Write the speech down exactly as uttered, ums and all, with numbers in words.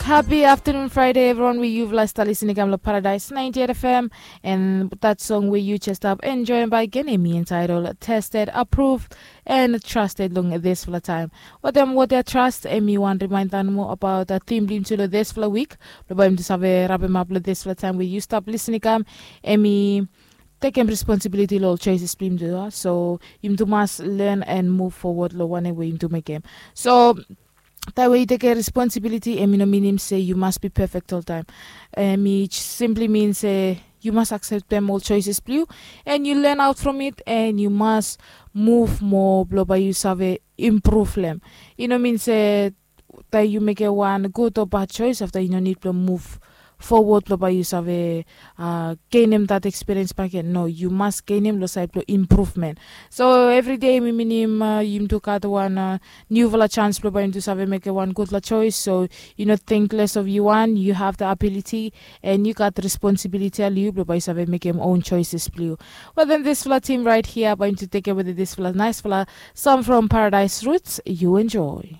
Happy afternoon Friday everyone, we yufala stap listening kam lo Paradise ninety-eight F M, and that song we you just stop enjoying by Genemi entitled Tested, Approved, and Trusted long this fla time. What them what their trust, and me one reminder more about the theme blim to this fla week. Lo by him to save wrap him up lo this fla time where you stop listening kam, and me take him responsibility lo choices blim to, so him to must learn and move forward lo one way him to make him. So taem we yu tekem responsibiliti, em i no minim se yu mas bi pefek oltaem. Em i simpli min se yu mas akseptem ol choices blong yu, en yu len aut from it, en yu mas muv moa blong bae yu save impruv long em. I no min se taem yu mekem wan gud o bad chois afta yu no nid blong muv fowod blong bae yu save genem dat ekspiriens baken. No, yu mas genem long saed blong impruvmen. So evri dei mi minim yumi tu gat wan niufala jans blong bae yumi tu save mekem wan gudfala chois. So yu no ting les of yu wan, yu hav da abiliti, en yu gat responsibiliti long yu blong bae yu save mekem own choises blong yu. Wel, den disfala tim raet hia bae yumi tu tekem wetem disfala naesfala song from Paradise Roots. Yu enjoy.